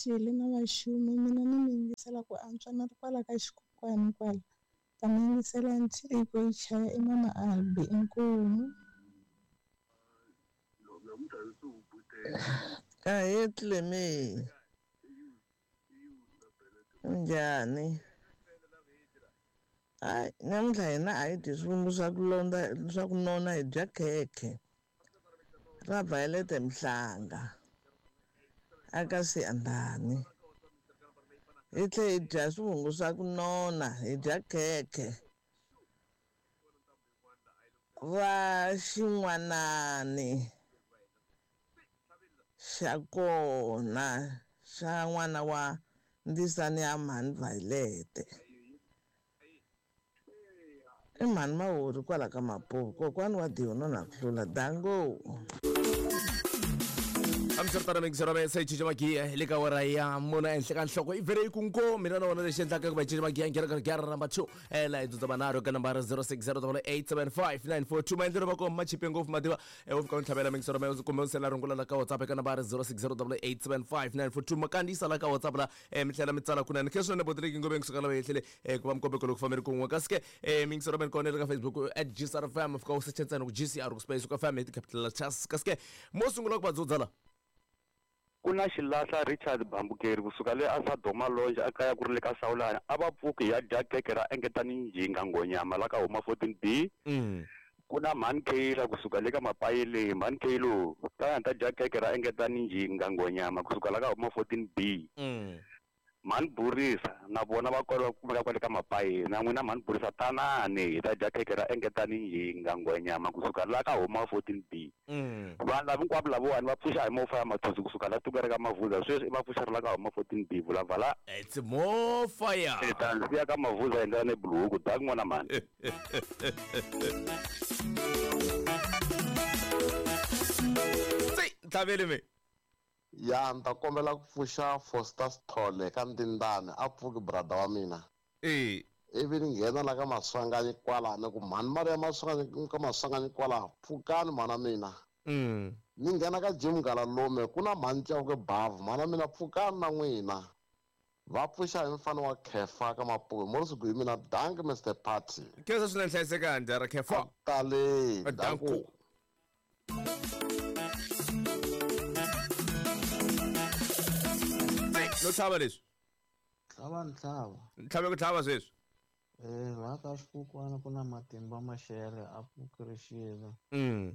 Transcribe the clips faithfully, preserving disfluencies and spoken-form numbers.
rixile na vaxumi mina ni mi yingisela ku antswa na ri kwala ka xikokwani kwala. Ta mi yingisela ntiko yi chaya i mama Albi inkomu. Ahee Cleme. Njhani? Hayi namuntlha hina a hi dyi swivumbu swa ku londza swa ku nona hi dya khekhe ra Violet Mhlanga aka Siyandhani. Hi tlhe hi dya swivungu swa ku nona hi dya khekhe va xin'wanani xa kona xa n'wana wa ndzisani ya mhani Violet. I mhani Mawuri kwala ka Mapuvu kokwani wa Diona na ku hlula dango. Amsartana mixero me se chicha magia le ka wara ya mona enhle ka nhloko i vere ku nko mina na wona lexi endlaka ku va chicha magia ngena ka gara number two eh la idza banaro ka number zero six zero eight seven five nine four two maendlelo va ko ma chipe ngopfu mativa e u fika u ntlhavela mixero me kumbe u sela rungula la ka WhatsApp ka number zero six zero eight seven five nine four two makandisa la ka WhatsApp la e mi tlhela mi tsala kunene khe swinene botleki ngove ngisuka la yehlele e ku va mkombeko loko fameri kun'we kasi ke e mixero me kona ka Facebook at G C R F M fika u search ntsena ku G C R ku space ku F M hi capital letters kasi ke mo sungula ku va dzudza la ku na xilahla Richard Bambukeri kusuka le a Sadoma Lodge a kaya ku ri le ka Sawulana a va pfuki ya dya keke ra engetani njhinga ngonyama la ka huma fourteen B mm. ku na Mhani Kayla kusuka le ka Mapayele Mhani Kaylo ta ta dya keke ra engetani njhinga ngonyama kusuka la ka huma fourteen B mm. Mhani Burisa na vona va kwala kumeka kwale ka Mapayele na n'wina Mhani Burisa tanani hi ta dya keke ra engetani njhinga ngonyama kusuka la ka huma fourteen B mm. vanhu lava hinkwavo lavawani va pfuxa hi mofa ya mathusi kusuka la tiko ra ka Mavuza sweswi va pfuxa ri la ka huma fourteen B vulavala it's more fire ta siya ka Mavuza hi ndlela ne buluku dak n'wana mhani tsi ntlhaveli me ya ni ta kombela ku pfuxa Foster Sithole ka Ndindani a pfuki brother wa mina eh ivi ni nghena la ka Maswanganyi kwala ni ku mhani mali ya Maswanganyi ka Maswanganyi kwala pfukani mhana mina mm. ni nghena ka Jim Ngalalume ku na mhani Chauke Bavu mhana mina pfukani na n'wina va pfuxa hi mfana wa Khefa ka Mapuve Morris hi mina danki Mister Party khensa swinene hlayisekani dara Khefa tale danku no tlhava leswi tlhava ni tlhava ntlhave ku tlhava sweswi eh laha ka xikukwana ku na matimba maxele a pfukerixile mm.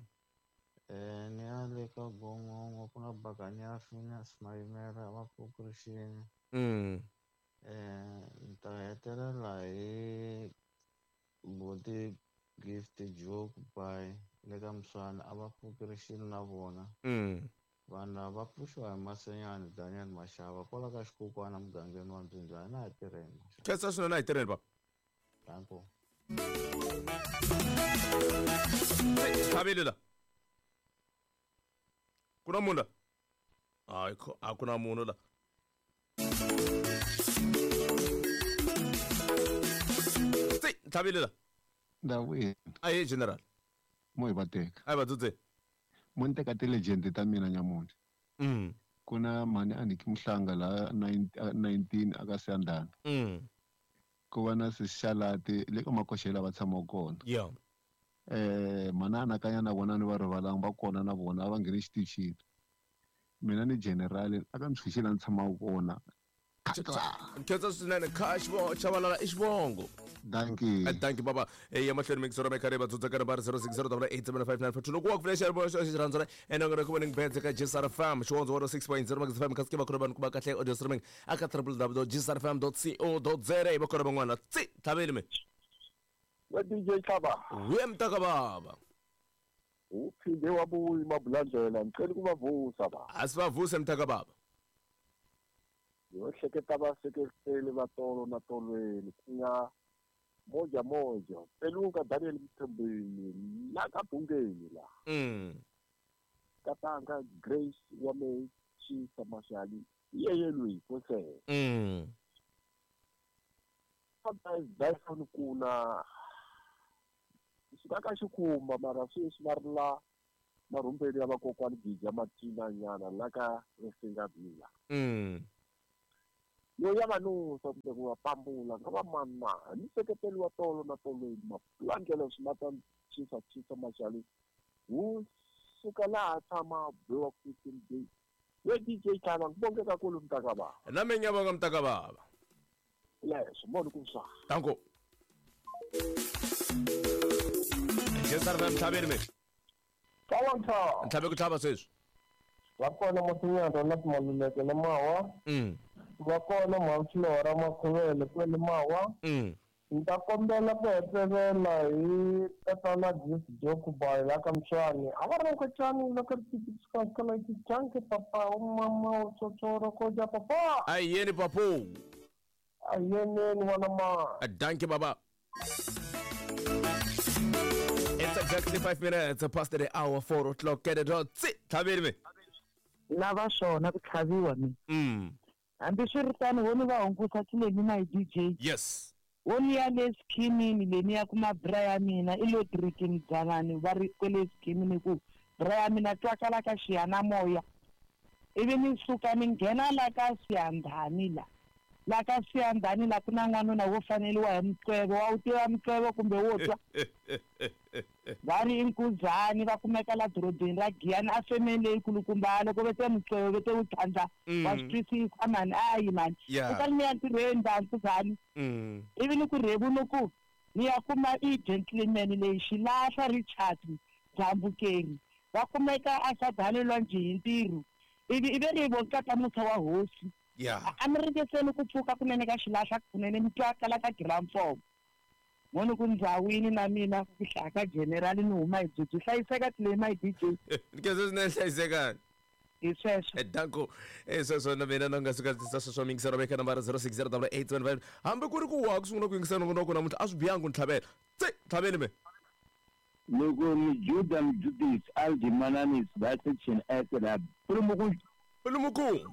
eh ni ya le ka gongongo ku na bakanya Phineas Mayimela va pfukerixile mm. eh ni ta hetelela hi buti Gift Joke by le ka Mswana a va pfukerixile na vona mm. vanhu lava va pfuxiwa hi Masenyani Daniel Mashava kwala ka xikukwana mugangeni wa Mbyinjana na hi tirheni khensa swinene a hi tirheni baba danko tlhaveli la ku na munhu la hayi a ku na munhu la tsi tlhaveli la ndawini aye general mo hi va teka a hi va dzudze mo ni teka ti-legend ta mina nyamuntlha mm. ku na mhani Aniki Mhlanga la nineteen aka Siyandhani mm. ku va na Sishalati le ka Makoxela va tshamaka kona yeah. eh mhani anakanya na vona ni va rivalanga va kona na vona a va ngheni xitichini mina ni general aka ntshunxi la ni tshamaka kona khensa swinene kha Chabalala i xivongo danki danki baba ya mahlweni mixero me khare va dzudza ka number zero six zero eight seven five nine four two loko wa ku pfula xi xi rhandza ene ngone ku voning beds ka G C R F M xivondzo one oh six point zero Max F M kasi ke va khona vanhu ku va kahle audio streaming aka w w w dot g c r f m dot co dot z a va khona van'wana tsi tlhaveli me wa D J Tlhava we mtaka baba uphinde wabuya mabulandlela ngicela ukubavusa ba asivavuse mtaka baba yo hleketa va seketele va tolo na tolweni ku nga moja moja peluka Daniel Mthembeni la ka Bungeni la mm. katanga Grace wa me Chisa Mashali yeye lwi kose mm. sometimes Dyson kuna xikaka xikhumba mara sweswi va ri la marhumbeni ya vakokwani Gija Matina nyana la ka Risinga Bila mm. Yo ya vanusa kumbe ku va pambula nga va mani na ni seketeli wa tolo na tolweni mapulandlela swi ma ta chisa chisa maxali wu suka laha tshama biwa fifteen days we D J Tlhava ngibonge kakhulu mntakababa nami ngiyabonga mntakababa leswo moni ku swa danko Jesar va mtlhaveni me Tlhava ntlhabe ku tlhava sweswi va kona masinyana na timaluleke na mawa mm va kona mhamflora makhuvele kwele mawa mm ni ta kombela ku hetelela hi tatana Gift Jokubai la ka Mtshwani a va ri nkhwetshani loko ri tikisikakalakicanke papa u mama u tsotsoro ko dya papa a yeni papo a yeneni n'wana ma danke baba. It's exactly five minutes past the hour, four o'clock. Get it on. Tlhaveni me lava swona ku tlhaviwa mina mm hambiswiritano wo ni va hungusa tileni na hi D J yes wo ni ya le skimini leni ya kuma bra ya mina i lo tirikini dzanani va ri kwele skimini ku bra ya mina twakala ka xiyanamoya ivi ni suka ni nghena la ka siyandhani la la ka siyandhani la ku na n'wanuna wo faneliwa hi muqwevo wa wu tiva muqwevo kumbe wo twa va ri i nkuzani va kumeka la dorobeni ra Giyani a femeni leyi kulukumba loko ve te muqwevo ve te wu tlhandla wa swi twisisa mani ayi mani kutani ni ya ntirhweni va nkuzani ivi ni ku rhevu ni ku ni ya kuma i gentleman leyi xilahla Richard Dzambukeri va kumeka a sadalelwa njhe hi ntirho ivi i ve ri vonkata musa wa hosi yeah a mi ringeseni ku pfuka kunene ka xilahla kunene mi twakala ka giramfomo moni ku ndzawini na mina ku hlaya ka general ni huma hi byi hlayiseka tilei my D J nkeze swinene hlayisekani hi sweswo danko sweswo na mina na nga suka tisa sweswo mingiselo veka nambara zero six zero double eight seven five hambi ku ri ku wa ku sungula ku yingisela nongonoko namuntlha a swi bihangi ku ni tlhavela tse tlhaveni me loko Mijuda Mjudis Aldimananisi va section S la pulumuku pulumuku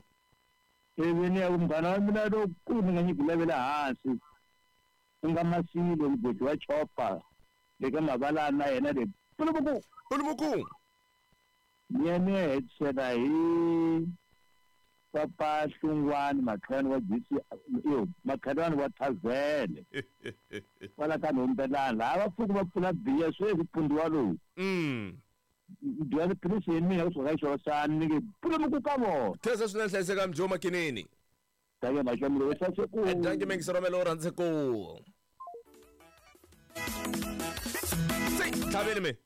ivi ni ya ku munghana wa mina lowukulu ni nga nyiki lavela hansi ku nga Masilo mugodi wa chopa le ka mavalana na yena le pulumuku pulumuku ni ya ni ya hetisela hi papa Hlungwani makhelwani wa G C yo makhelwani wa Thazele kwala ka Nhombelani laha va pfuki va pfula biya sweswi pundiwa lowu mm dya tiphilisi hi mina kusuka ka xorosani ni nge pulumuku ka vona khensa swinene hlayiseka mjo makinini danke maxamilo hlaseku danke mingiselo rhandze ku tlhaveni me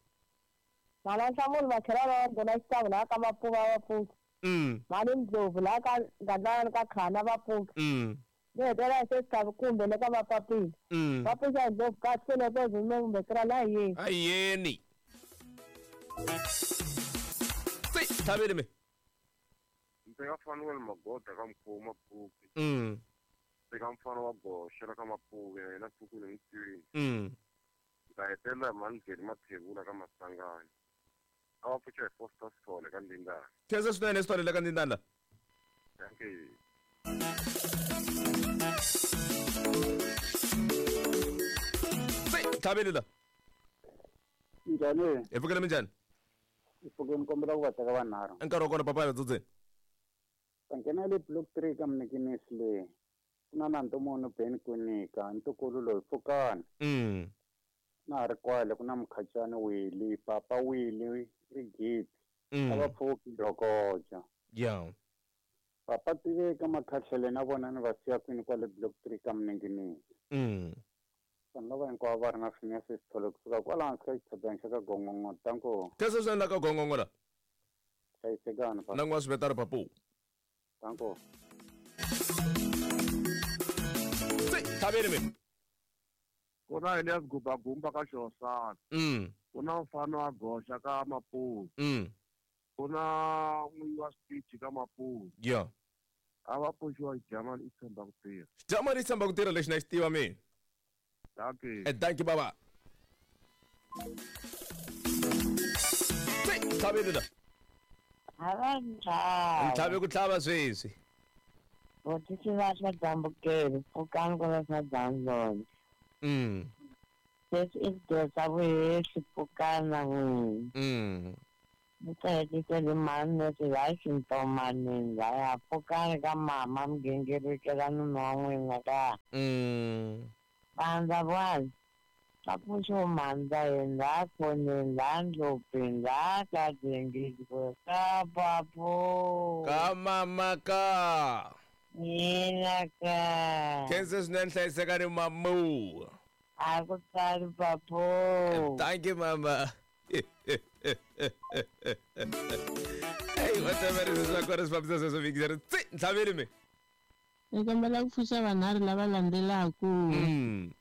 mala nhlamulo makhelwani wa ndona xitavu laha ka Mapuva va pfuki mm mali Ndlovu laha ka Ngandlana ka Khana va pfuki mm ni hetelela hi sesitavu kumbe le ka Mapapila mm va pfuxa Ndlovu kahle loko kumbe kra la yeni a yeni tlhaveni me ndzi nga Fanuel Magoda ka Mkhuva Mapuki mm ndzi nga mfana wa Goxa la ka Mapuki na yena Pfukile Mtwini mm ndza hetelela hi Mandzheli Mathevula ka Masangani a va pfuxa hi Foster Sithole ka Ndindana khensa swinene Sithole la ka Ndindana danke tlhaveni la njhani hi pfukile minjhani hi pfukile kombela ku va teka vanharhu nkarhi wa kona papa ya dzudzeni ta nghena le block three ka Mnikinisi leyi ku na Nantomoni Ben Kwinika ntukulu loyi pfukani mm na ha ri kwale ku na Mkhacani Wili papa Wili Rigidi a va pfuki Dokoja yeah papa tiveka Makhahlele na vona ni va siya kwini kwale block three ka Mninginisi mm vanhu lava hinkwavo va ri na Phineas Sithole kusuka kwala hansi ka xitshopana xa ka Gongongo tanko khensa swinene la ka Gongongo la hlayisekani na n'wa swivetano papu tanko tlhaveni me ku na Elias Gubagumba ka Xihosana mm ku na mfana wa Goxa ka Maputi mm ku na n'winyi wa switichi ka Maputi yeah a va pfuxiwa Xidyamani i tshemba ku tirha Xidyamani i tshemba ku tirha lexi na xi tiva mina danke danke baba tlhaveni la ntlhavi ku tlhava sweswi Botisi va swa Dzambukeri pfukani ku va swa Dzamzolo mm leswi i swidosa vuhehli pfukani na n'wina mm Ni ta hetisela mhani leswi la xintomanini laya pfukani ka mama mi gingirikela nuna wa n'wina ka. Mm. Vandza vanhu va pfuxiwa mhandza hi khoneni la ndlopfeni la ka dengizwe ka papo. Ka mama ka. Mina ka. Khensa swinene hlayisekani mamu. A ku tali papo. Thank you mama. Hey, whatever is swa kona swi fambisa sweswo vikizeri tsi ntlhaveli mi. Ni kombela ku pfuxa vanharhu lava landzelaku. Mm.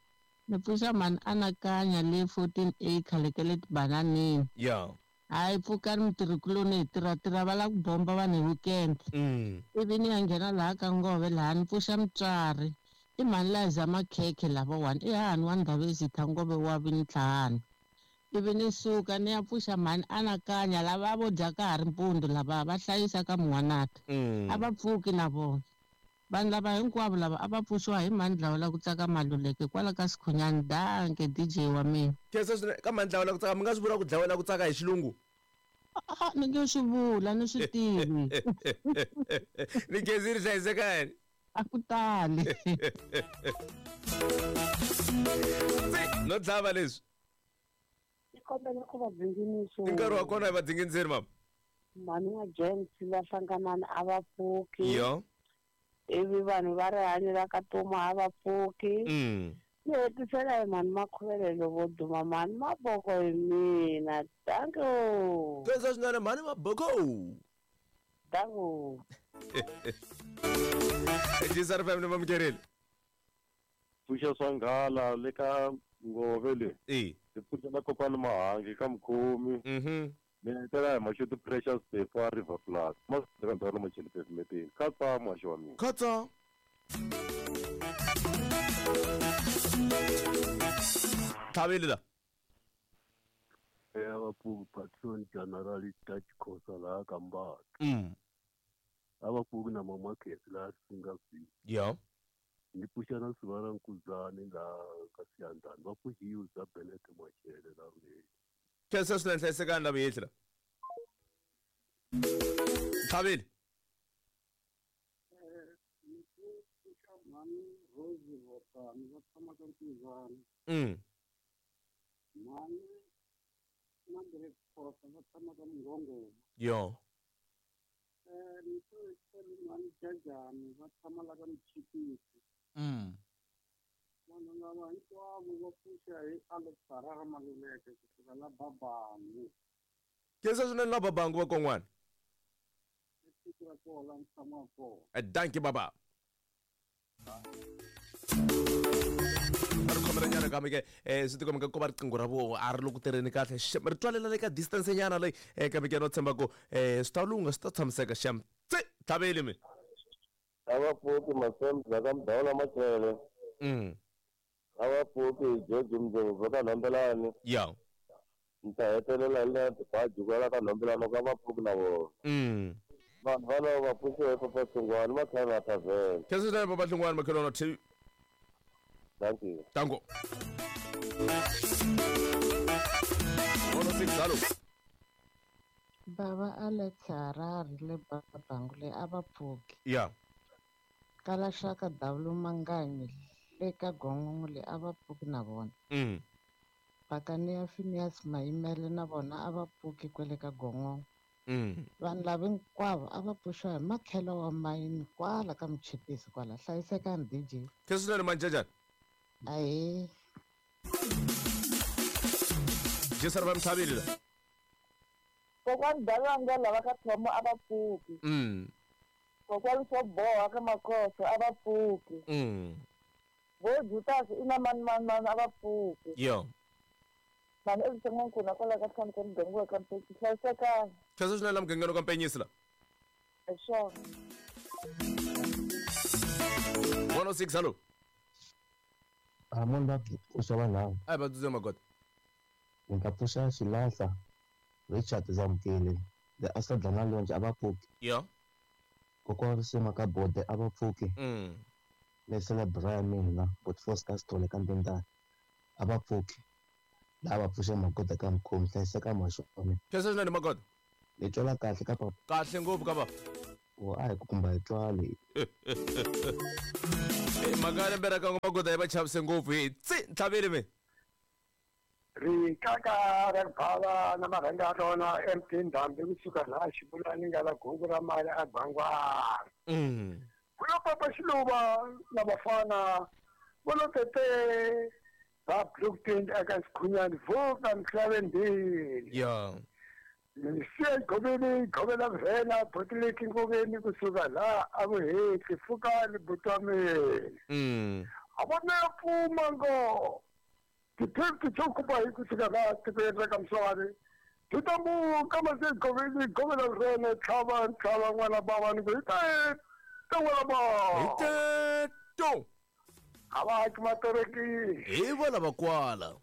Ni pfuxa mhani Anakanya le fourteen acre le ka le tibananini. Yeah. Hayi pfukani mutirhikuloni hi tirha tirha va lava ku bomba vanhu hi weekend. Mm. Ivi ni ya nghena laha ka Ngove laha ni pfuxa mutswari. I mhani Liza Makhekhe lavawani i hahani wa Ndhavezitha Ngove wa Vintlhanu. Ivi ni suka ni ya pfuxa mhani Anakanya lava vo dya ka ha ri mpundzu lava va hlayisa ka Muwanata. Mm. A va pfuki na vona. Vanhu lava hinkwavo lava a va pfuxiwa hi mhani Dlawula ku tsaka Maluleke kwala ka Sikhunyani. Danke D J wa mina. Khensa swinene ka mhani Dlawula ku tsaka mi nga swi vula ku dlawela ku tsaka hi xilungu? Ah, ni nge swi vula ni swi tivi. Ni khensile hlayisekani. A ku tali. No dlava leswi. Ni kombela ku va dzinginisa. I nkarhi wa kona hi va dzinginiseni mama. Mhani wa James va hlanganani a va pfuki. Yo. Ivi vanhu va rihanyo ra ka Tuma a va pfuki. Mm. Ni hetisela hi mhani Makhuvelelo vo duma mhani Maboko hi mina. Thank you. Khensa swinene mhani Maboko. Thank you. G S R F M ni mamukerile. Pfuxa swa nghala le ka Ngove le. E. Hi pfuxa na kokwani Mahangi ka Mukhomi. Mhm. Ni hetelela hi Mashudu Precious Pefa River Plus. Masika ndhawu macheli pavement. Katsa muhaxi wa mina. Katsa. Tlhaveli la. Ya va patron general Dutch Khosa laha ka Mbaka. Mm. A va pfuki na mama Khesi laha Singapore. Yeah. Ni pfuxa na Sivana Nkuzani laha ka Siyandhani. Va pfuxiwe za Benet Machele la Rhuleni. Khensa swinene hlayisekani la vuyehli la. Tlhaveli. Mm. Yo. Mm. Vanhu lava hinkwavo va pfuxa hi Alex Harare Maluleke kusuka la Babangu. Khensa swinene la Babangu va kon'wana. I tiko ra kona la ni tshamaka kona. Dankie baba. Ri khomela nyana kambe ke eh swi tikomba ku va riqingho ra vo a ri loko tirheni kahle xem ri twalela le ka distance nyana leyi eh kambe ke no tshemba ku eh swi ta lungha swi ta tshamiseka xem tsi tlhaveli mi. A va pfuki Masemza ka Mdawula Machele. Mm. A va pfuki George Mdlovu ka Nhombelani. Yeah. Ni ta hetelela hi le Baji kwala ka Nhombelani ka va pfuki na vona. Mm. Vanhu valavo va pfuxiwe hi Papa Hlungwani va tlhela va thavela. Khensa swinene Papa Hlungwani makhelwana two. Thank you. Tango. One six hello. Baba Alex Harare le Babangu le a va pfuki. Yeah. Kala Shaka W Manganyi le ka Gongongo le a va pfuki na vona. Mm. Pakani ya Phineas Mayimele na vona a va pfuki kwele ka Gongongo. Mm. Vanhu lava hinkwavo a va pfuxiwa hi makhelo wa mayini kwala ka Muchipisi kwala. Hlayisekani D J. Khensa swinene Manjajani. Ahee. G S R F M tlhaveli la. Kokwani Dalanga lava ka Thomo a va pfuki. Mm. Kokwani swo boha ka Makhosa a va pfuki. Mm. Vo Jutas i na mani mani mani a va pfuki. Yo. Mani evuton'wini kwala ka tlhanu ka muganga wa ka Mpenyisi hlayisekani. Khensa swinene la mugangeni ka Mpenyisi la. Hi swona. one oh six hello. A munhu va pfuxa vanhu. A hi va dzudze magoda. Ni nga pfuxa Xilahla Richard Zamukele le a sa dlana lonje a va pfuki. Yeah. Kokwana Risima ka Bode a va pfuki. Mm. Lesela Brian mina but Foster Sithole ka Ndendane a va pfuki. Lava va pfuxa magoda ka Mukhomi hlayiseka muhaxi wa mina. Khensa swinene magoda. Ni twela kahle ka papa. Kahle ngopfu ka papa. O a hi ku kumba hi twali. Eh mhaka ya lembe ra ka magoda yi va chavise ngopfu hi tsi ntlhaveli mi. Rikaka ra bava na marhanga ya rona M T Ndhambi kusuka laha Xibulani nga la gungu ra mali a Bangwana. Mm. Ku lo papa Xiluva na vafana vo lo tete va block twenty eka Sikhunyani vuka Mhlabendini. Yeah. Siya gobeni gobela vhela botileki ngoveni kusuka laha a vuhetli pfukani butameni. Mm. A vona ya pfuma ngo. Ti-fifty to kupa hi kusuka laha tikweni ra ka Mswari ti ta muka mase goveni govela rene tlhava ntlhava n'wana bava ni ku hi ta ta n'wana bava hi teto a va haki matereki hi vona va kwala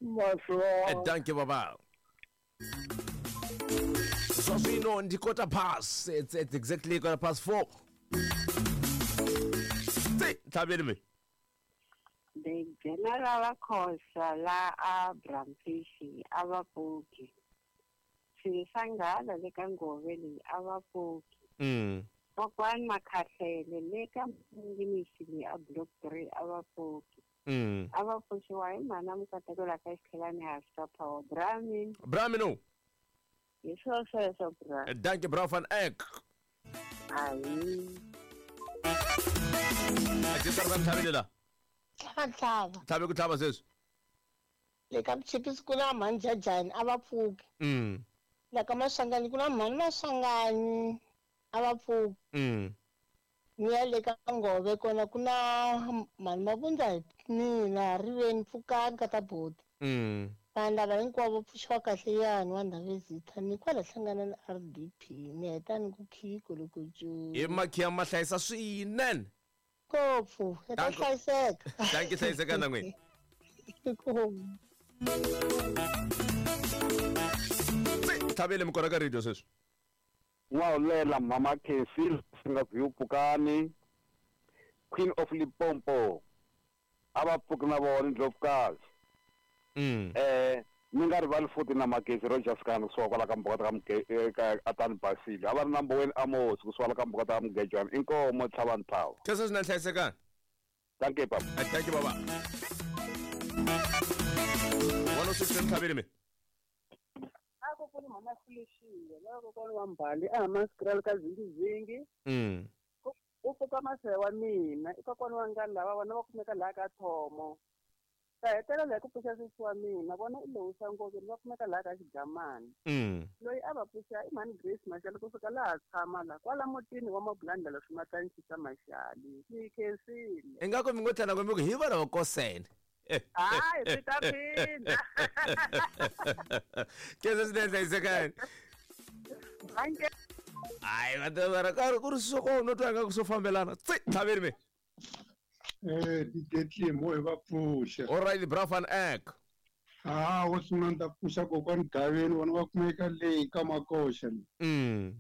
maswa danke baba so swino ndi quarter past it's, it's exactly quarter past four tsi ntlhaveli mi The general Khosa la Abraham Fishi a va pfuki. Swisanghala le ka ngove leyi a va pfuki. Mm. Kokwani Makhahlele le ka Mingimisi leyi a block three a va pfuki. Mm. A va pfuxiwa hi mhana Mukateko la ka Xikhelani hansi ka Power Brahmin. Brahmin. Hi swo sweswo bra. Dankie bra van Eck. Ayi. Ajisa ra ntlhaveli la. Tlhava. Tlhave ku tlhava sweswi. Le ka Mchipisi ku na mhani Jajani a va pfuki. Mm. La ka Maswanganyi ku na mhani Maswanganyi a va pfuki. Mm. Ni ya le ka Ngove kona ku na mhani Mavundza hi mina riveni pfukani ka ta boti. Mm. Vanhu lava hinkwavo pfuxiwa kahle yani wa Ndhavezitha ni kwala hlangana na R D P ni heta ni ku khiko loko cu. Hi makhiya ma hlayisa swinene. Ngopfu ya ta hlayiseka. Dankie hlayiseka na n'wina. Thabele mikona ka radio sweswi. N'wahulela mama Casey singa pfukani Queen of Limpopo a va pfuki na vona Ndlovukazi. Mm. Eh ni nga rivali futhi na Magezi Rogers Khan kusuka kwala ka mbuka ta ka Atani Basile a va ri na Mboweni Amos kusuka la ka mbuka ta Mugejwana inkomo tlhava ntlhava. Kesa swi na hlayisekani. Thank you papa. Thank you baba. one oh six ntlhaveli mi. A kokwana mhana Felicia la kokwana wa Mbali a Maskrel ka zingizingi. Mm. U pfuka maseve wa mina i kokwana wa ngani lava vona va kumeka laha ka Thomo. Ta hetelela hi ku pfuxa sesi wa mina vona i lowusa Ngoveni va kumeka laha ka Xigamani. Mm. Loyi a va pfuxa i mhani Grace Mashali kusuka laha tshama la kwala mutini wa Mabulandlela swimatani xisa Mashali. Ni khensile. Ingaku mi ngo tlhela mi ku hi vona va kosene. Hayi swi ta phinda. Kesa swinene hlayisekani. Hayi va ta va ra karhi ku ri swo no twa ingaku swo fambelana. Tsi ntlhaveli mi. Eh D J Clem hi va pfuxa. All right bra van Eck. Ah wo sungula ni ta pfuxa kokwani Gaveni vona va kumeka leyi ka Makoxa. Mm.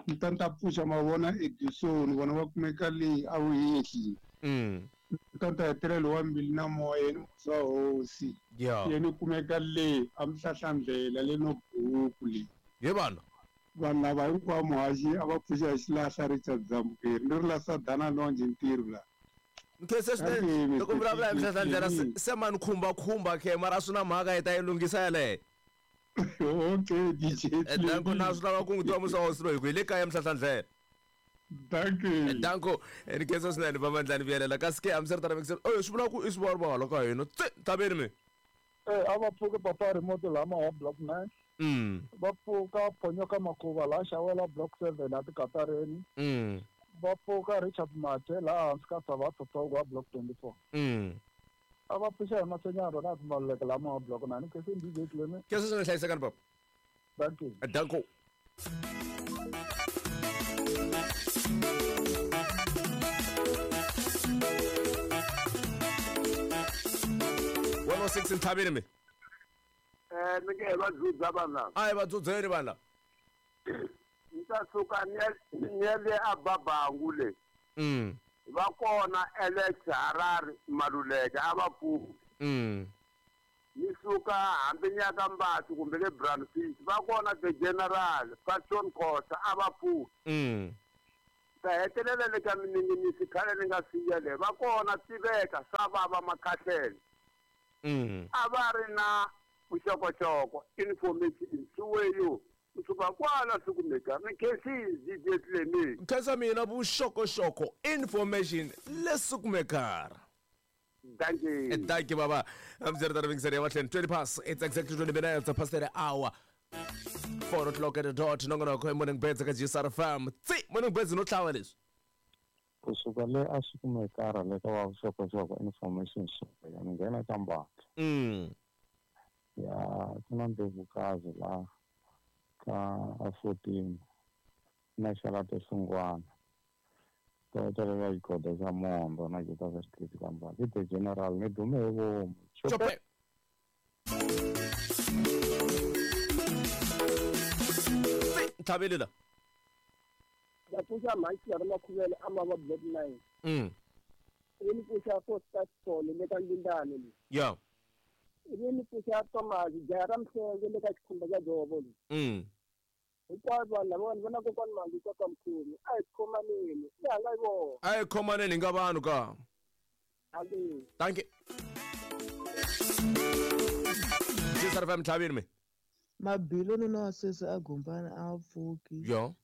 Ni ta ni ta pfuxa mavona Edison vona va kumeka leyi a Vuhehli. Mm. Ni ta ni ta hetelela wa Mbili na Moya yena musa hosi. Yeah. Yena kumeka leyi a Mhlahlandlela le no buku leyi. Ye vanhu. Vanhu lava hinkwavo muhaxi a va pfuxa hi xilahla Richard Zamukeri ni ri la Sadana Lonje ntirho la. Nkhense swinene loko vulavula hi Mhlahlandlela se mani khumba khumba khe mara swi na mhaka hi ta yi lunghisa yaleyo. Okay D J. Danko na swi lava ku n'wi tiva musa hosi loyi hi ku hi le kaya Mhlahlandlela. Danko. Danko ni khensa swinene va Mandlani vuyelela kasi ke hambiswiritano mi oyo swi vula ku i swivalvala ka hina tsi ntlhaveni mi. Eh a va pfuki papa remote lama wa block nine. Mm. Va pfuka Phonyoka Makhuva laha xawela block seven a tikatareni. Mm. Va pfuka Richard Mathe laha hansi ka Savatho Togo wa block twenty-four. Mm. A va pfuxa hi Masenyaro na Maluleke lama wa block nine kese D J Clem. Kese swinene hlayisekani papa. Thank you. Danko. one oh six ntlhaveni mi. Eh mi nge va dzudza vanhu lava. A hi va dzudzeni vanhu lava. Ni ta suka ni ya ni ya le a Babangu le. Mm. Va kona Alex Harare Maluleke a va pfuki. Mm. Ni suka hambi ni ya ka Mbatsi kumbe le Brandfish va kona the general Fashion Khosa a va pfuki. Mm. Ta hetelela le ka mininginisi khale ni nga siya le va kona tiveka swa vava makhahlele. Mm. A va ri na vuxokoxoko information suweyo kusuka kwala sikumeka ni khensile D J Clement. Khensa mina vuxokoxoko information lesikumekara. Thank you. Thank you, Baba. I'm Zero twenty past. It's exactly twenty minutes past the hour. Four o'clock at the dot. Nongonoko morning birds ka G S R F M. Tsi morning birds no tlhawa leswi. Kusuka le a swi kumekara le ka va vuxokoxoko information ya ni nghena ka Mbatsi. Mm. Ya ku na Ndlovukazi la ka a fourteen na Xalata Xingwana. Ta hetelela xigoda xa Mondo na Joseph Street ka Mbatsi. I the general ni dume hi vomu. Chope. Thabile la. Va pfuxa mhani ya Makhuvele a ma va block nine. Mm. Ivi ni pfuxa Foster Sithole le ka Ndindane le. Yeah. Ivi ni pfuxa Thomas jaha ra Mhlenge le ka Xikhumba xa Dzovo le. Mm. Hinkwavo vanhu lavawani va na kokwani Mangi ka ka Mkhulu. A hi khomaneni. I hanga hi vona. A hi khomaneni hi nga vanhu ka. Amen. Thank you. G S R F M Thabile me. Mabilo nuna wa sweswi a gumbana a pfuki. Yo.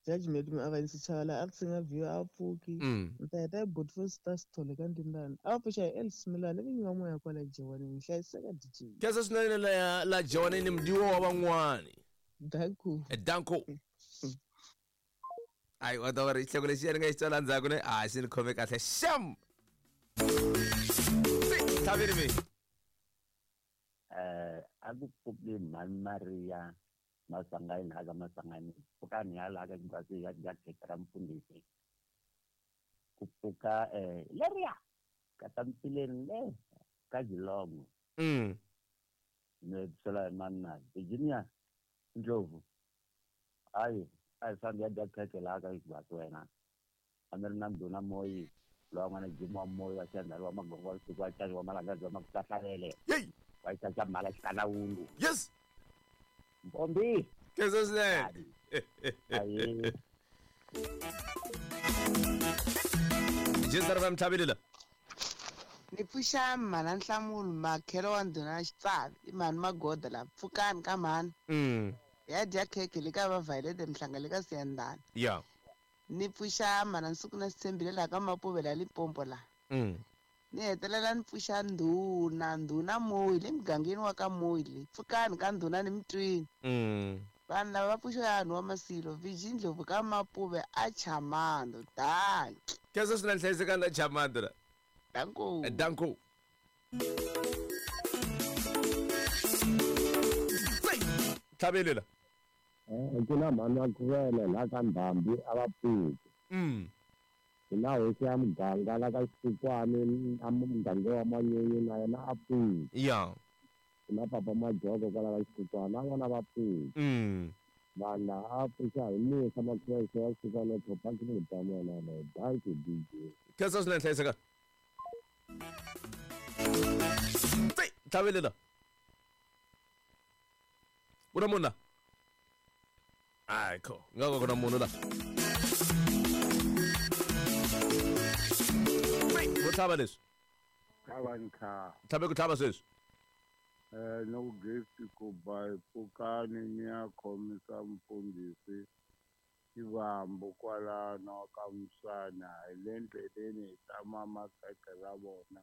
Judgment mi avanyisa chavala a tsinga view a pfuki. Mm. Ni ta heta hi Beautiful Star Sithole ka Ndindane. A va pfuxa hi Elsie Milani leyi nga moya kwala Jewanini. Hlayiseka D J. Khensa swinene la la Jewanini mdiwo wa van'wani. Danko. Danko. Ayi wa ta va ri xihloko lexi ni nga xi tsala ndzhaku ne a xi ni khome kahle. Sham. Thabile me. Eh a ku pfuki mhani Maria Maswanganyi la ka Maswanganyi pfukani ya la ka Ngwazi ya ya khekhe ra mfundhisi ku pfuka eh leriya ka Tampileni le ka Geelong. Mm. Ne tsela manna Virginia Ndlovu ayi a fambi ya dya khekhe la ka Ngwazi wena a mi ri na ndhuna Moyi lowa n'wana Jim wa Moyi wa Xandhari wa Magongo wa Siku wa Chali wa Malangazi wa Makuhlalele. Yey. Wa Xaxa Mhala Xikanawungu. Yes. Mpombi. Khensa swinene. Ayi. G S R F M Thabile la. Ni pfuxa mhana Nhlamulo makhelo wa ndhuna Xitsavi i mhani Magoda la pfukani ka mhani. Mm. Ya dya khekhe le ka va Violet Mhlanga le ka Siyandhani. Yeah. Ni pfuxa mhana Nsuku na Sithembile la ka Mapuve la Limpopo la. Mm. Ni hetelela ni pfuxa ndhuna ndhuna Moyi le mugangeni wa ka Moyi le pfukani ka ndhuna ni mutwini. Mm. Vanhu lava va pfuxa vanhu wa Masilo Virgin Ndlovu ka Mapuve a Chamando. Danki. Khensa swinene hlayisekani la Chamando la. Danko. Danko. Thabile la. Eh ku na mhani Makhuvele la ka Ndhambi a va pfuki. Mm. Ku na hosi ya muganga la ka Xikwani a muganga wa Manyunyu na yena a pfuki. Yeah. Ku na papa Majoko kwala ka Xikwani na vona va pfuki. Mm. Vanhu lava a pfuxa hi musa Makhuvele wa Xikwani Thopa ki ta mona na danki D J. Khensa swinene hlayiseka. Tsi Thabile la. Ku na munhu la? Ayi kho nga ku na munhu la. Vo tlhava leswi. Tlhava ni tlhava. Tlhave ku tlhava sweswi. Eh no gift ku ba pfukani ni ya khomisa mfundhisi Xivambu kwalano ka Muswana hi le ndleleni hi ta mama khekhe ra vona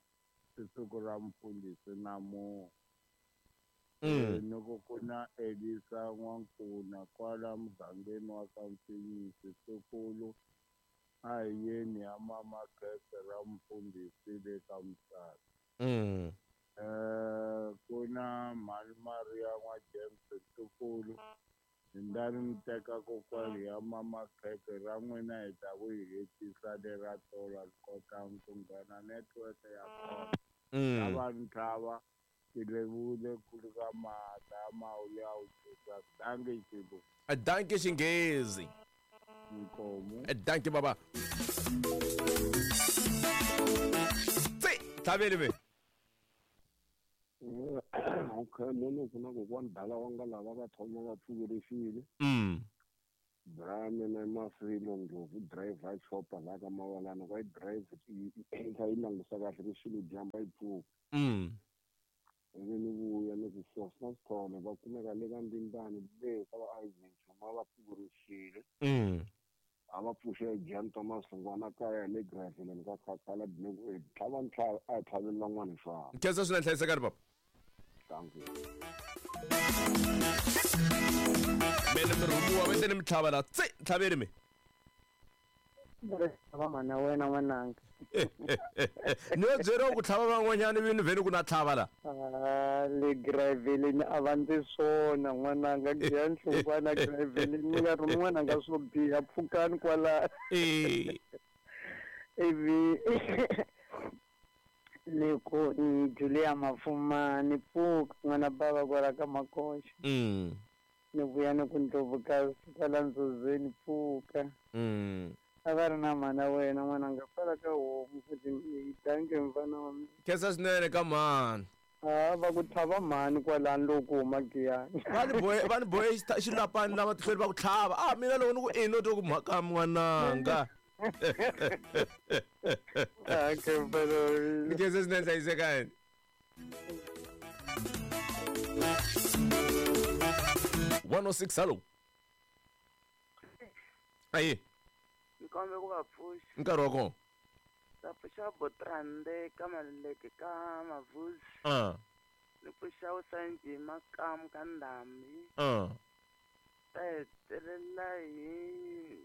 siku ra mfundhisi namuntlha. Mm. Loko ku na Elisa N'wankuna kwala mugangeni wa ka Mfinyisi Sukulu a hi yeni ya mama khekhe ra mfundhisi le ka Muswana. Mm. Eh ku na mhani Maria n'wa James Sukulu Ndani mi teka kokwani ya mama khekhe ra n'wina hi ta ku hi hetisa lera tolo kota ku nghena network ya kona. Mm. Lava ntlhava ti levule ku ri ka mata mawulu ya wu tisa danki xibu. Danki xinghezi. Nkomu. Danki baba. Tsi, tlhaveli ve. Okay, munhu ku na kokwani dala wa nga lava va thoma va pfukerixile. Mm. Bra mina mafilo ngopfu driver chopper la ka mawalana kwa drive i kha yi langusa kahle ku xilo dyamba yi pfuka. Mm. Ivi ni vuya ni ku source na swithole va kumeka le ka Ndimbani le ka va Isaac Chuma va pfukerixile. Mm. A va pfuxe Jan Thomas Hlongwana kaya le Graveleni ka Khakhala ni tlhava ntlhava a tlhaveli van'wana hi Khensa swinene hlayisekani papa. Thank you. Mene mi rhumiwa va teni mi tlhava la tse tlhaveni mi. Va mana wena n'wananga. Ni yo byeriwa ku tlhava van'wanyana ivi ni vheni ku na tlhava la. Ah, le Graveleni a va ndzi swona n'wananga Gian Hlongwana Graveleni mi nga rhumi n'wananga swo biha pfukani kwala. Eh. Ivi leko ni Julia Mafuma ni pfuka n'wana bava kwala ka Makoxa. Mm. Ni vuya ni ku Ndlovukazi kwala Ndzozeni pfuka. Mm. A va ri na mhana wena n'wananga kwala ka homu futhi danke mfana wa mina. Khensa swinene ka mhani. Ah, va ku tlhava mhani kwalani loko ku huma Giyani. Va ni bohe va ni bohe xilapani lava tihlweni va ku tlhava. Ah mina loko ni ku i no twa ku mhaka n'wananga. Ah, ke mfana wa mina. Khensa swinene hlayisekani. one oh six hello. Ayi. Nkombe ku va pfuxa. Nkarhi wa kona. Ta pfuxa Botrande ka Maluleke ka Mavuzi. Ah. Ni pfuxa Usanji Makamu ka Ndhambi. Ah. Ta hetelela hi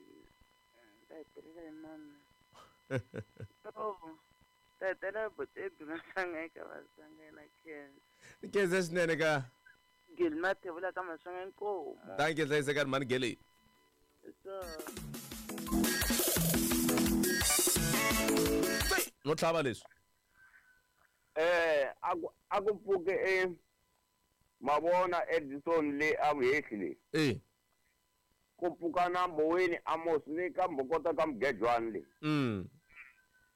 ta hetelela hi mani. Ta hetelela hi Botebi Masanga eka Masanga na Khensa. Khensa swinene ka. Geli Mathebula ka Masanga inkomu. Thank you hlayisekani mhani Geli. So no tlhava leswi. Eh a ku a ku pfuke e mavona Edison le a vuhehli le. Eh. Ku pfuka na Mboweni Amos le ka Mbokota ka Mgejwani le. Mm.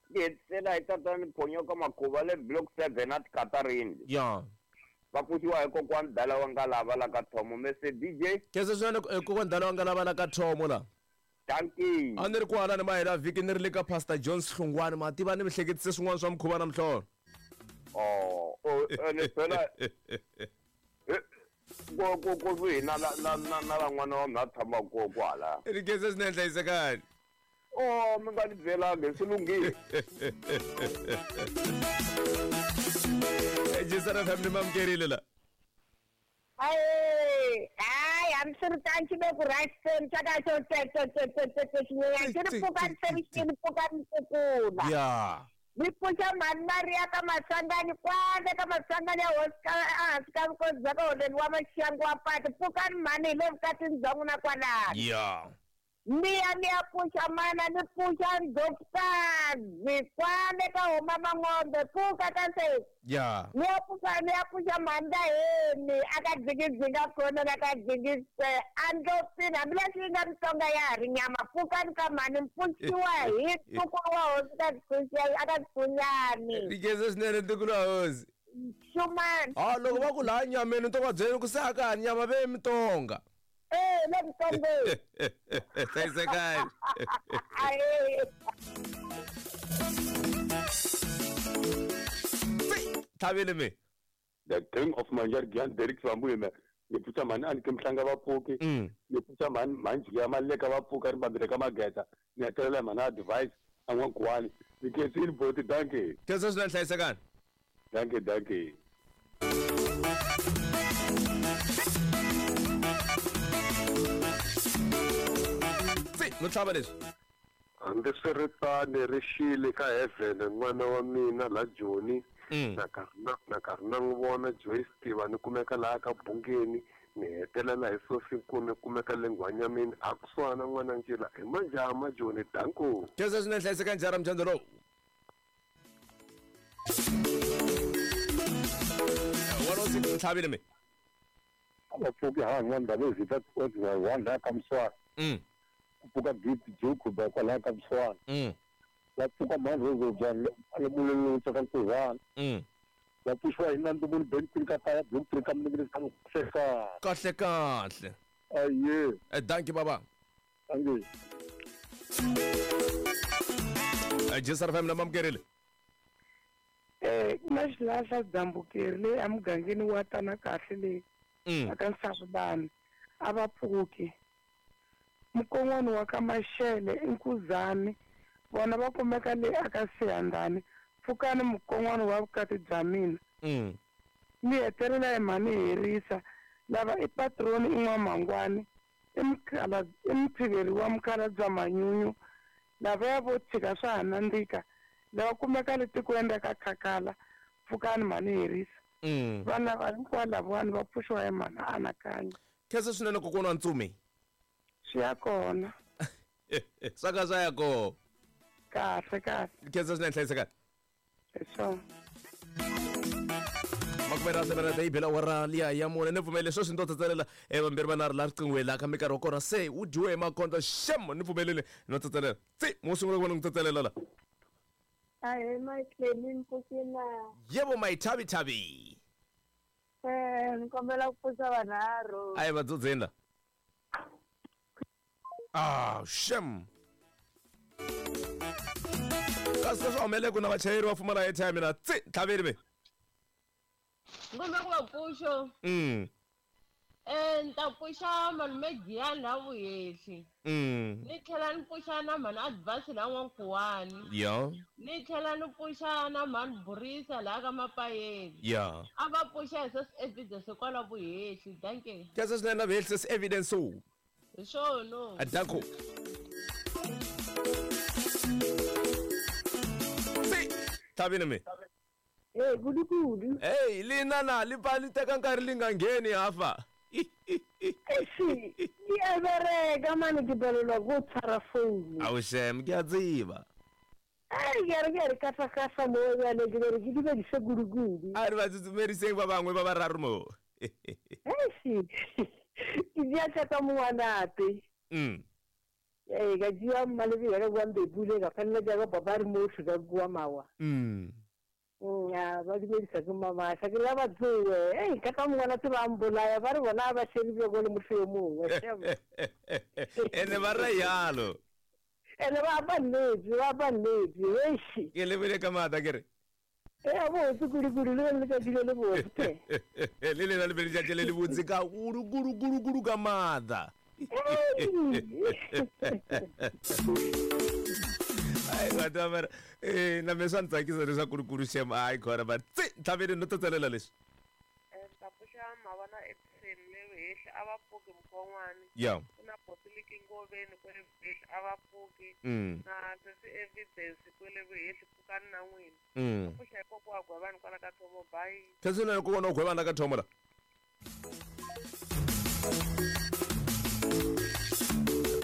Ni hetisela hi tatani Phonyoka Makhuva le block seven at Katarini. Ya. Va pfuxiwa hi kokwani Dala wa nga lava la ka Thomo Mese D J. Khensa swinene kokwani Dala wa nga lava la ka Thomo la. Dankie. A ni ri kwala ni mahela vhiki ni ri le ka Pastor Jones Hlongwane ma tiva ni mi hleketise swin'wana swa mukhuva na mihlolo. Oh, oh ni phela ku ku ku ku na na na na van'wana wa mina tshama ko kwala. Ri khensa swinene hlayisekani. Oh, mi nga ni byelanga swi lunghile. Jisara family mamukerile la. Ayi, hayi hambiswiritano xi ve ku right seni xa ka xo xi ri pfukani se xi ri pfukani kukula. Ya. Ni pfuxa mhani Maria ka Masangani kwale ka Masangani ya hosi ka ehansi ka vukosi bya ka holweni wa Maxangu wa pati pfukani mhani hi le vukatini bya n'wina kwalano. Ya. Ni ya ni ya pfuxa mana ni pfuxa Ndlovukazi kwale ka homa Mang'ombe pfuka ka se. Ya. Ni ya pfuxa ni ya pfuxa mhani Daheni a ka dzingidzinga khona na ka dzingise a ndlopfini hambileswi yi nga Mutsonga ya ha ri nyama pfukani ka mhani pfuxiwa hi ntukulu wa hosi ka a ka Dzigunyani. Ni khensa swinene ntukulu wa hosi. Xumani. Ah loko va ku laha nyameni to va byela ku se a ka ha nyama ve Mutsonga. Eh, le Mutsongeni. Hlayisekani. Tlhavile mi. The king of Manjargian Derek Sambuime. Ni pfuxa mhani a ni ke Mhlanga va pfuki. Ni pfuxa mhani mhani ya Maleka va pfuka ri mbambile ka Mageta. Ni hetelela mhani advice a n'wankuwani. Ni khensile boti dankie. Khensa swinene hlayisekani. Dankie dankie. No tlhava leswi. Hambiswiritano ri xile ka heaven n'wana wa mina la Joni na karhi na na karhi na n'wi vona Joyce Tiva ni kumeka laha ka Bungeni ni hetelela hi Sophie Nkume kumeka le Nghwanyameni a kusuhana n'wana Ncila hi manjama Joni danko. Khensa swinene hlayisekani njhani mdyandza lowu. one oh six tlhavile mi. A va pfuki ha n'wana Ndabezitha one la ka Mswani. Mm. Ku pfuka Gift Joku ba kwalaho ka Mswani. Mm. Va pfuka mhani Rose bya le mulelo ka Nkuzana. Mm. Va pfuxiwa hi Nandumuni Ben Kwini ka kaya Bloemfontein ka Mningirini ka Kahle kahle kahle. Aye. Eh dankie baba. Dankie. G S R F M na mamukerile. Eh na xilahla dzambukeri leyi emugangeni wa tana kahle leyi aka Nsavulani a va pfuki. Mukon'wana wa ka Maxele i Nkuzani vona va kumeka leyi aka Siyandhani pfukani mukon'wana wa vukati bya mina. Ni hetelela hi mhani herisa lava i patroni i N'wamangwani i mukhala i muphiveri wa mukhalabye Manyunyu lavaya vo tshika swa ha nandzika lava kumeka le tikweni ra ka Khakhala pfukani mhani herisa. Vanhu lava hinkwavo lavawani va pfuxiwa hi mhani Anakanya. Khensa swinene kokwana wa Ntsumi. Swi ya kona. Swa ka swa ya kona. Kahle kahle. Khensa swinene hlayisekani. Hi swona. Makume ra seven yi bela awara liya ya mune ni pfumelele sweswi ni to tsatselela vambirhi vanharhu laha riqinghweni laha ka minkarhi wa kona se wu dyiwe hi makondzo xem ni pfumelele no tsatselela tsi mo sungula ku vona n'wi tsatselela la. Ahee Mayihleni ni pfukile. Yebo Mayithavithavi. Eh ni kombela ku pfuxa vanharhu. A hi va dzudzeni la. Ah xem. Kasi leswi humeleke na vachayeri va pfumala airtime na tsi tlhaveli ve. Ngombe ku va pfuxo. Mm. Eh ni ta pfuxa malume Giyani la Vuhehli. Mm. Ni tlhela ni pfuxa na mhani Advance la N'wankuwani. Ya. Ni tlhela ni pfuxa na mhani Burisa laha ka Mapayeni. Ya. A va pfuxa hi sesi evidence kwala Vuhehli. Dankie. Khensa swinene na Vuhehli sesi evidence o. Hi swona. Danko. Tsi tlhavini mi. Hey kudu kudu. Hey lina na li pfa li teka nkarhi li nga ngheni hafa. Eish, di a bereka mane ke palelwa ke go tshwara founu. Ao shem ke a tseba. Ai ke re ke re kafa-kafa mo bjale ke bere ke dumedise kudu-kudu. A re ba tsutsumeriseng ba bangwe ba bararo mo. Eish, ke dia tsa mongwanate. Mm. Ee ka dia mmalebe ya ka kwa Mbebule ka felela ka papa re mo ka kwa Mawa. Mm. Ya ba dumedisa ke mama sa ke la ba tsoe ei ka ka mongwana tse ba mbolaya ba re bona ba shebile go le motho yo mongwe ene ba re yalo ene ba ba nnetse ba ba nnetse eish ke lebile ka maatla ke re e botse kudu-kudu le letsatsi le le botse le lena le be letšatši le le botse ka kudu kudu kudu kudu ka maatla. Ai batho ba eh na me swa ntsakisa leswaku kudu shem ai khona ba tsi tlhaveni no tsatselela leswi. Eh ta pfuxa mavana Edison le Vuhehli a va pfuki mukon'wana. Ya. Ku na Botiliki Ngoveni kwele Vuhehli a va pfuki. Na sesi evidence kwele Vuhehli pfukani na n'wina. Mm. Pfuxa hi kokwa wa Gwevani kwala ka Thomo bye. Khensa ku vona Gwevani ka Thomo la.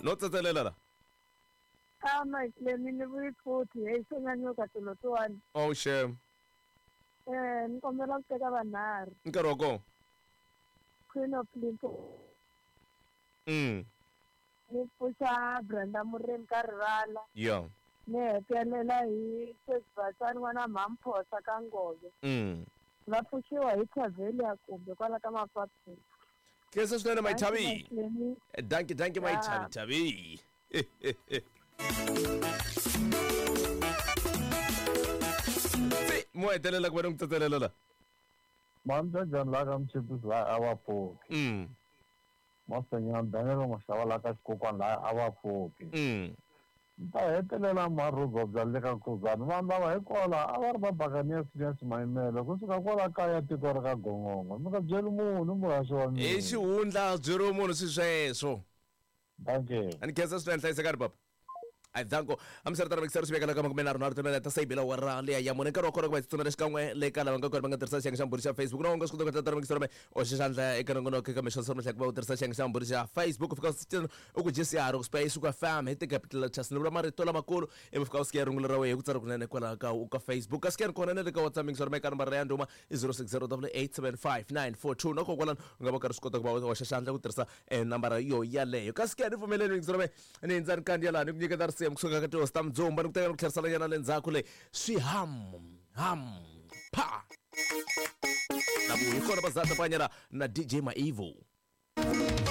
No tsatselela la. Ah Mayihleni ni vuyi futhi hey sonyanyuka tolotswana. Oh shem. Eh ni kombela ku teka vanharhu. Nkarhi wa kona. Queen of Limpopo. Mm. Ni pfuxa Brenda Murimi ka Rivala. Ya. Ni hetelela hi Sesi n'wana Mhamphosa ka Ngove. Mm. Va pfuxiwa hi Thavelia kumbe kwala ka Mapapeni. Khensa swinene Mayithavi. Dankie dankie Mayithavi thavi. Tsi mo hetelela ku va ni n'wi tsatselela la. Mamjajani la ka Mchipisi la a va pfuki. Mm. Masenyana Daniel Maxava la ka Xikokwani la a va pfuki. Mm. Ta hetelela Marhubobya le ka Nkuzani vanhu lava hikwalaho a va ri va Buccaneers Phineas Mayimele kusuka kwala kaya tiko ra ka Gongongo mi nga byeli munhu muhaxi wa mina. I xihundla byeriwe munhu swi sweswo. Dankie. A ni khensa swinene hlayisekani papa. Ai danko amisari mixer swi vekela ka makume nharhu nharhu timela ta sayibela wa ra leya ya mune nkarhi wa kona ku va tsutsumela xikan'we le ka lava nga kona va nga tirhisa xiyenge xa mbhuri xa Facebook na u nga swi kota ku tata mixer me o xi xandla eka nongonoko eka mixo swa ku va u tirhisa xiyenge xa mbhuri xa Facebook u fika u ku G C R ku space ku fam hi ti-capital letters ni vula marito lamakulu ivi fika u siya rungula ra wena hi ku tsala kunene kwalaho ka ka Facebook ka scan kona na le ka WhatsApp mixer me ka nambara ya ndhuma i zero six zero double eight seven five nine four two na kokwalano u nga va karhi swi kota ku va u hoxa xandla ku tirhisa nambara yo yaleyo ka scan pfumeleni mixer me ni ndza ni kandziya laha ni ku nyiketa risimu kusuka ka tihosi ta Mdzumba ni ku teka ni ku tlherisela nyana le ndzhaku leyi swi ham ham pa. Na vuyi kona bazata panyara na D J Maivo.